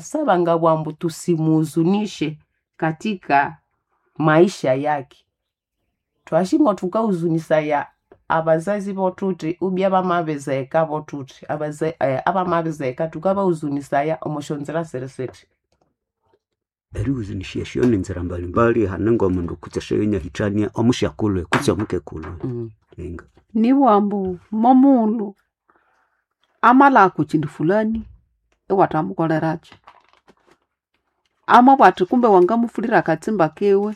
Saba bwambu tusimuhuzunishe katika maisha yake. Twashingwa tukahuzunisaya abazazi botuti ubya bamabizeka botuti abamabizeka tukabahuzunisaya omusyonzira sirisiti. Erihuzunisya esyo ninzira mbalimbali hane ngomundu kutse esyoyinyahithania omusyakulhu kutse omukekulhu. Inga. Nibughambu momughulhu amalhagha okokyindu fulani iwathamukolerakyu. Amabugha athi kumbe wangamufulira akatsimba kiwe,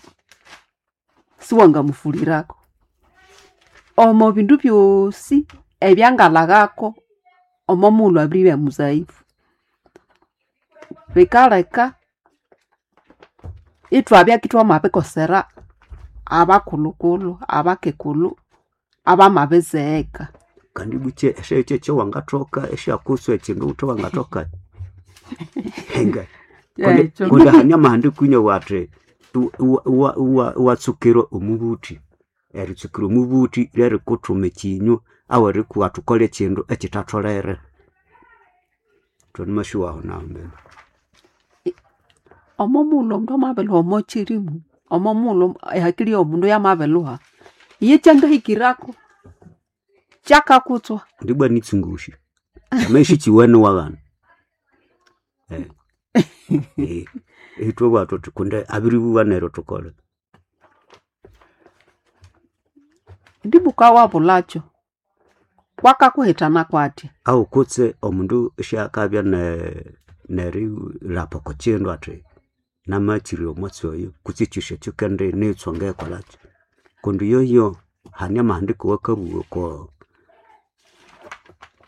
siwangamufulirako. Omo bindu byosi ebyangalhaghako, omo mughulhu abiribya muzaifu. Bikaleka ithwabya kithwamabikosera abakulhukulhu, abakekulhu abamabizegheka. Kandi bukye esyayo kyekyawangathoka esyakuswa ekyindu wuthi wangathoka. Inga. Kundi Ekyo. kundi hane amahandiko inabugha athi iwatsukira omubuthi. Eritsukira omubuthi lyerikuthuma ekinywa awerikuwa thukole ekyindu ekyithatholere. Thwamasyowa aho naho mbene. Omo mughulhu omundu amabilhuha omo kyirimu, omo mughulhu ehakili yomundu yamabilhuha, iye ekyangahikirako kyakakutswa. Ndibwa nitsungusya. Kyamabya isikiwene iwaghana. Ithwabugha thuthi kundi abiribugha neryo thukole. Ndibuka wabulhakyo, kwakakuhithana kwathya? Ahu kutse omundu isyakabya nerilhapa oko kyindu athi namakyirira omwatsi oyo kutse ekyosi ekyo kendinitswa ngekolhakyi. Kundi yoyo hane amahandiko awakabugha oko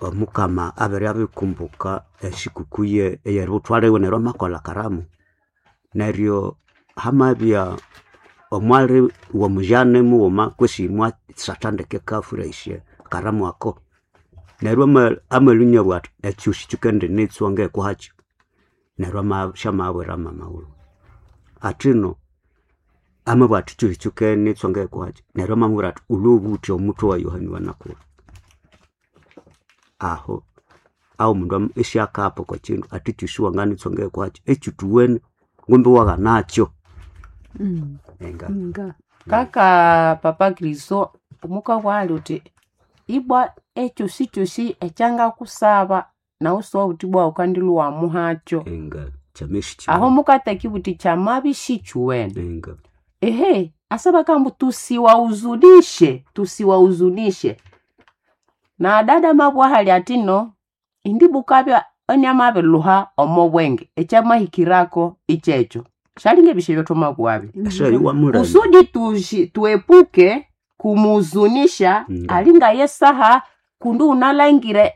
omukama abere abirikumbuka esikuku eyeributhwa liwe neryo amakolha akaramu. Neryo hamabya omwali womujane mughuma kwesi mwasatha ndeke akafurahisya akaramu ako. Neryo amalwa inabugha athi ekyosi kyikendinitswa ngekuhakyo. Neryo syamabwira mama wiwe. Athino amabugha athi ekyosi kyikendinitswa ngekuhakyo neryo amamubwira athi wulhwe obuthi omuthwe wa Yohane wanakulha. Aho ahomundu isyakapa oko kyindu athi ekyosi wanganitswa ngekuhakyo ekyithuwene ngumbi iwaghanakyo. Inga. Inga. Kaka papa Kristo mukabugha uthi ibwa ekyosikyosi ekyangakusaba nawu siwawuthi ibwa wukandilhwa iwamuhakyo. Inga kyamabya Aho isikiwene. mukatheka ibuthi kyamabya isikiwene. Inga. Ehe asa bakambu tusiwahuzunishe, tusiwahuzunishe. Na dada mabugha hali athino indi bukabya inamabilhuha omo bwenge ekyamahikirako ikyekyo. Syalinga ebisyo ebyathwamabughabyo. Esyayo iwamulinda. Kusudi tuepuke kumuhuzunisha Inga. alinga yesaha kundi wunalangire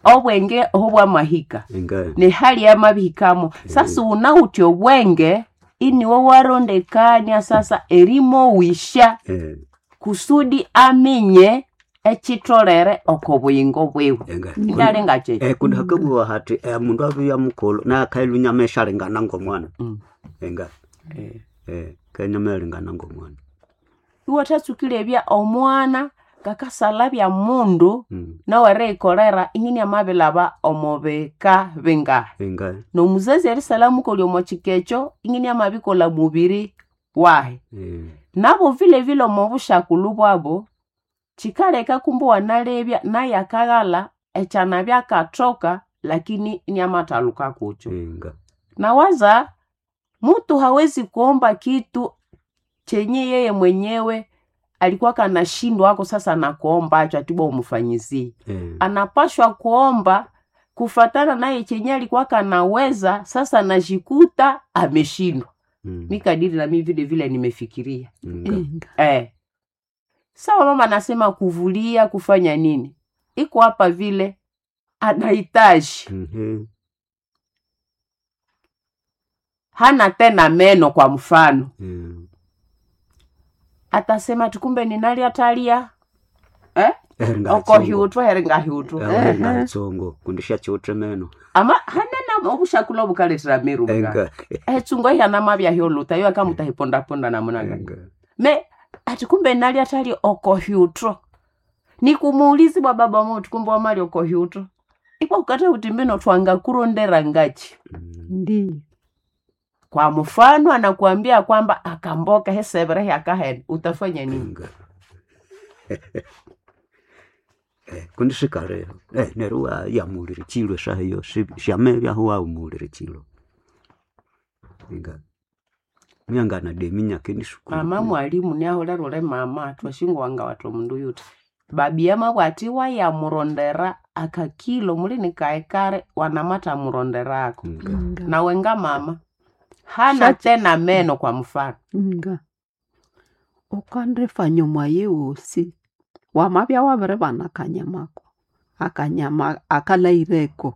obwenge oho bwamahika. Inga. Nehali yamabihikamo. Sasa wunawithe obwenge iniwe warondekania sasa erimowisya kusudi aminye ekyitholere oko buyingo bwiwe. Inga. Ingalinga kyekyo. Kundi hakabugha hathi omundu abya mukulhu naye akalhwa inyamesyalingana ngomwana. Inga. Kanyamyalingana ngomwana. Iwathatsuka omwana ngakasalhabya mundu nawe eriyikolera ininiamabilhaba omo bika bingahi. Inga. Nomuzazi erisalha mukolya omo kika ekyo ininiamabikolha mubiri wahi. Nabo vilevile omo busyakulhu bwabu, kyikaleka kumbe iwanalebya naye akaghalha ekyanabya akathoka lakini iniamathaluka kukyo. Inga. Nawaza mutu hawezi kuomba kitu chenye yeye mwenyewe alikuwa kanashindwa ako sasa nakuombacho ati bwa umufanyizie. Anapashwa kuomba kufatana naye chenye alikuwa kanaweza sasa najikuta ameshindwa. Mi kadiri na mi vile vile nimefikiria. Inga. Inga. Sawa mama anasema kuvulia kufanya nini? Iko hapa vile anahitaji. Hana tena meno kwa mfano. Atasema tukumbe ninali atalia. Okohyutwa heringahyutwa. Eringatsongo kundi syakyiwithe meno. Ama hanena obushakula obukalethera meru bwa. Inga. Etsungo ihana mabya hyoluta yo akamutahipondaponda namuna gani. Inga. Me ati kumbe nali atali okohyutwa. Nikumuulizi bwa baba motu kumbe wamali okohyutwa. Ikwa ukata uti mbino twangakurondera ngachi. Ndiyo. Kwa mfano anakuambia kwamba akamboka hesevere yakahene, utafanya nini? Nga. Kundi sikale neryo wayamulira chilo esaha eyo syamebyaho wawumulira chilo nga myanganademinya kendisukuru. Mama mwalimu niaholera ule mama twashingwanga watu mundu yuti babi yamabwati wayamurondera akakilo mulini kaekare wanamata muronderako. Nga. Nga. Nawe nga mama hana tena meno kwa mfano. Nga. Ukandifanya omwayi wosi wamabya wabiribana akanyamako akanyama akalaireko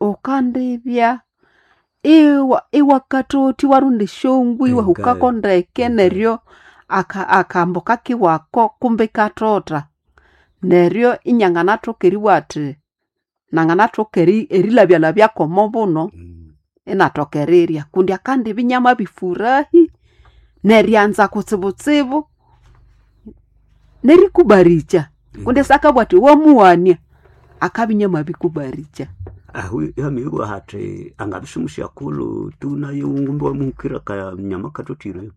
ukandibya iwa iwakathothi iwarunda esyongwe iwahukako ndeke neryo akambu kakiwako kumbi ikathotha neryo inyanganathoka eribugha athi nanganathoka erilhabyalhabyako omo buno inathoka erirya kundi akandibya inyamabifurahi neryanza kutsibutsibu nerikubarikya kundi sakabugha athi wamuwania akabya inyamabikubarikya. Ahu yamibugha hathi angabya simusyakulhu tu naye ngumbi wamuhukira akanyama kathothire.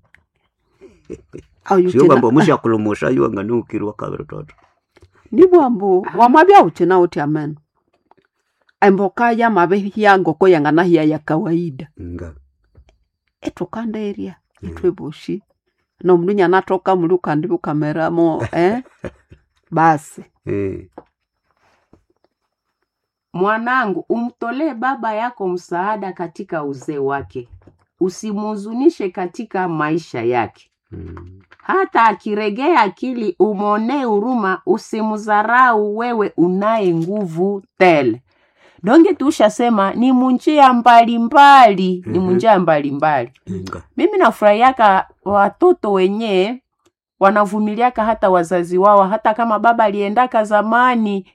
Oyo Siobwamba omusyakulhu musa yo anganahukirwa akabirithotha. Nibugha ambu wamabya wukinawithe ameno emboka yamabihya ngoko yanganahya ya kawaida Nga. ithukandirya ithwe bosi nomundu inyanathoka muli wukandibya wukameramo basi. Mwanangu, umtolee baba yako msaada katika uzee wake, usimhuzunishe katika maisha yake. Hata akiregea akili umwonee huruma, usimdharau wewe unaye nguvu tele. Donge tushasema ni munjia mbalimbali, ni munjia mbalimbali. Nga. Mimi nafurahiaka watoto wenyewe wanavumiliaka hata wazazi wao, hata kama baba aliendaka zamani,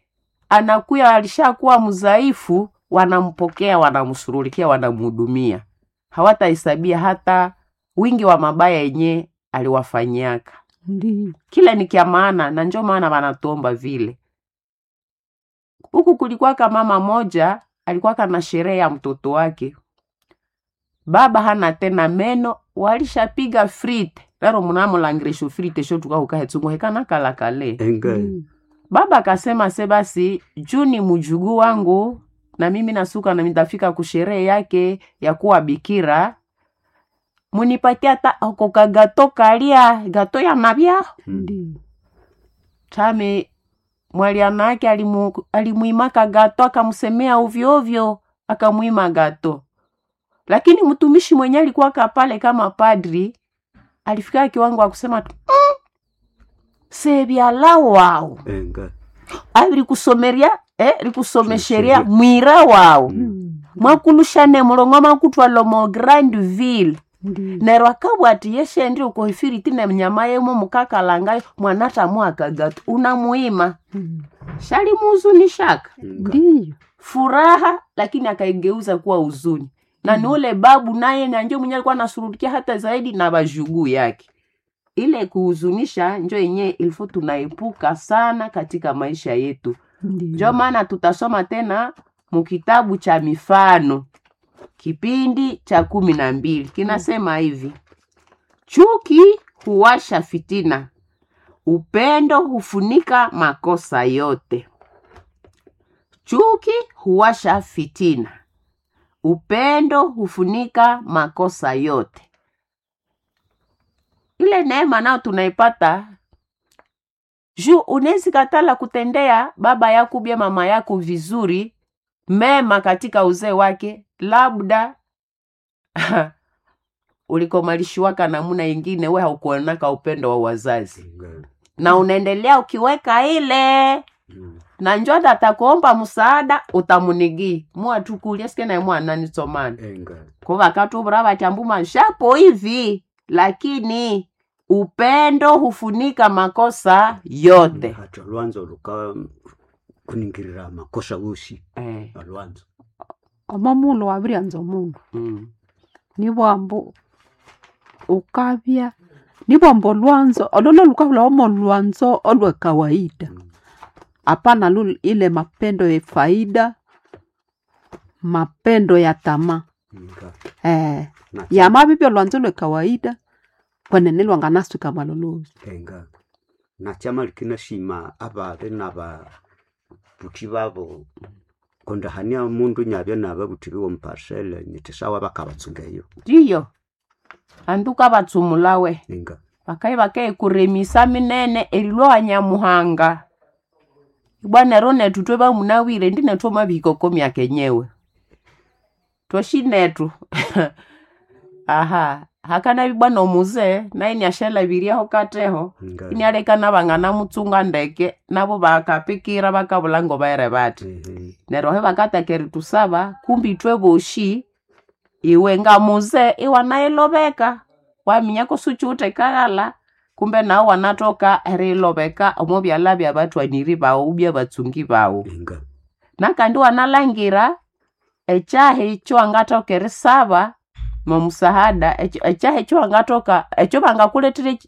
anakuya alishakuwa mdhaifu, wanampokea, wanamshughulikia, wanamhudumia. Hawatahesabia hata wingi wa mabaya yenye aliwafanyiaka. Ndiyo. Kile ni kya maana, na njo maana wanatuomba vile. Huku kulikuwaka mama moja alikuwaka na sherehe ya mtoto wake, baba hana tena meno, walishapiga frite lero munamulangirisha frite sho tukahukahetsungu hekana kalakale. Nga. Baba akasema se basi juu ni mjukuu wangu na mimi nasuka na nitafika kusherehe yake ya kuwa bikira, munipatie hata ako kagato kalia gato ya mabya Ndiyo. tame. Mwaliana yake alimuimaka gato akamsemea ovyo ovyo, akamuima gato. Lakini mtumishi mwenye alikuwa pale kama padri alifika kiwango akusema tu sebyala wao Nga. abiri rikusomesheria mwira wao mwakulushane mulongo makutwala mo grand ville. Ndiyo. Neryo akabwa ati yeshendi ukoifiriti nemnyama yemo mukakalangayo mwanatamu akagatu unamuima shalimuhuzunishaka Ndiyo. furaha, lakini akaigeuza kuwa huzuni. Na ni ule babu naye na njo mwenye alikuwa anashurudikia hata zaidi na bajuguu yake. Ile kuhuzunisha njo yenyewe ilifo tunaepuka sana katika maisha yetu. Ndiyo. Njo maana tutasoma tena mukitabu cha Mifano kipindi cha 12 kinasema hivi: chuki huwasha fitina, upendo hufunika makosa yote. Chuki huwasha fitina, upendo hufunika makosa yote. Ile neema nayo tunaipata juu unezi katala kutendea baba yako bia mama yako vizuri mema katika uzee wake, labda ulikomalishiwaka namuna ingine, we haukuonaka upendo wa wazazi na unaendelea ukiweka ile na njo atakuomba msaada utamunigi mwatukulia sike naye mwana nitsomana ko vakatuvura vati ambu mashapo hivi, lakini upendo hufunika makosa yote. Hati olwanzo luka kuningirira makosa wosi olwanzo. Omo mulo wabiryanza omundu nibwambu ukabya nibwambu olwanzo ololo lukahulhawo mo lwanzo olwe kawaida. Hapana lu ile mapendo ya faida, mapendo ya tamaa. Nga. Eh, Na- yamabibya olwanzo lwe kawaida kwenene lwanganasuka malolozi. Enga. Na chama likinashima ababe nababuthi babo kundi hania mundu nyabya nababuthi biwe omuparcel nyiti sawa bakabatsunga eyo. Ndiyo anduka batsumulawe Enga. bakai bakekuremisa minene erilwa nyamuhanga ibwa nero nethu twe bamunawire ndi nethu omabihikoko myaka enyewe twoshi nethu aha hakanabi bwana omuze naye niashalabiryaho kateho Nga. inialeka nabangana ndeke nabo bakapikira bakabula ngo baere bati Ehe. neryo aho bakataka eritusaba kumbi ithwe boshi iwe ngamuze iwanayilobeka waminya kusuchiwuthe kaghala kumbe nawe wanatoka eriyilobeka omo byalha byabathwaniri bawu byabatsungi bawu Enga. nakandi wanalangira ekyahi ekyowangathoka erisaba momusahada ekyahi ekyowangathoka ekyo bangakulethera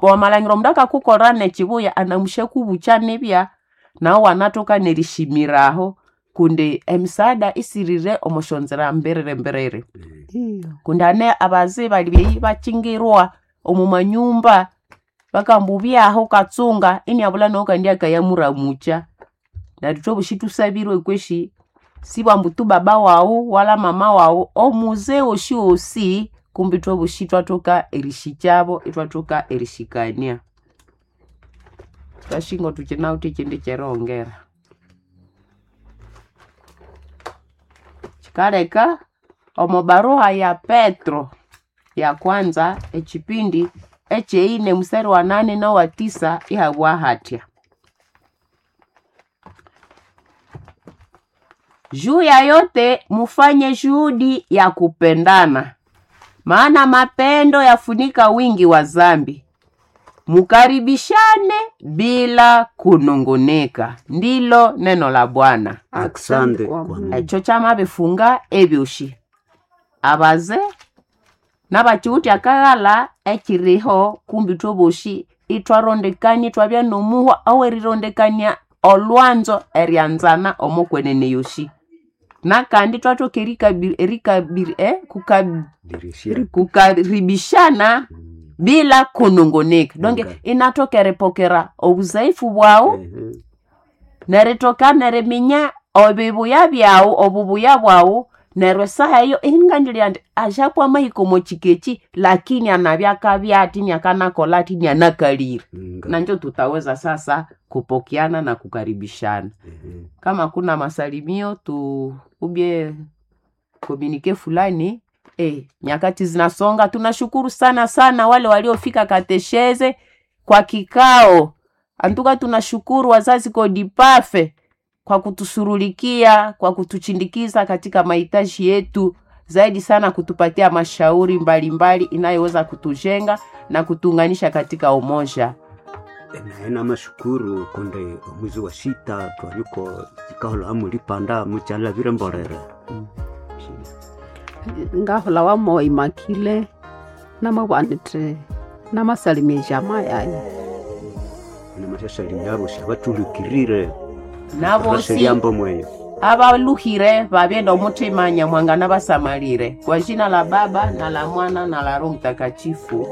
wamalhangira omundu akakukolera nekibuya anamusyakubucha nibya nawe wanathoka nerishimiraho kundi emisaada isirire omosyonzera mbiriri mbiriri Ndiyo. kundi ane abaze bali beyi bachingirwa omu manyumba bakambubyaho katsunga iniabula nawo kandi akayamuramucha neryo thwabushi thusabirwe kweshi sibwambu tu baba wawu wala mama wawu omuze wosi wosi kumbi thwabushi thwathoka erishikyabo ithwathoka erishikania twashingo thukinawithe ekindi kyerihongera kikaleka omo baruha ya Petro ya kwanza echipindi echeine mstari wa 8 na wa 9 ihabwa hatya juu ya yote mufanye juhudi ya kupendana, maana mapendo yafunika wingi wa zambi. Mukaribishane bila kunungunika. Ndilo neno la Bwana. Asante kwa kwa Mungu. Mungu. Ekyo kyamabifunga ebyoshi abaze nabakiwutya akaghala ekiriho kumbi thwaboshi ithwarondekania ithwabya nomuhwa owerirondekania olwanzo eryanzana omokwenene yoshi nakandi thwathoka Dirishia. kukaribishana bila kunungunika donge Okay. inathoka eripokera obuzaifu bwawu Ehe. neritoka neriminya obibuya byawu obubuya bwawu neryo esaha eyo ingandilya ndi axapwa amahika omo chikechi lakini anabyakabya ati niakanakola ati nianakalire Nga. nanjo tutaweza sasa kupokeana na kukaribishana Ehe. kama kuna masalimio tu ubye komunike fulani nyakati zinasonga. Tunashukuru sana sana wale waliofika katesheze kwa kikao antuka. Tunashukuru wazazi kodipafe kwa kutusurulikia, kwa kutuchindikiza katika mahitaji yetu, zaidi sana kutupatia mashauri mbalimbali inayoweza kutujenga na kutuunganisha katika umoja. Naye namashukuru kundi omwezi wa sita twaliko kikahola mulipanda mukyalabire mbolere. Ngahola wamo imakile namabwanithe namasalimia jamaa yaye. Namasyasalimia abosi abatulukirire Nabosi lyambo mweyo. abaluhire babyenda omutima nyamwanga nabasamalire. Kwa jina la Baba na la Mwana na la Roho Mtakatifu.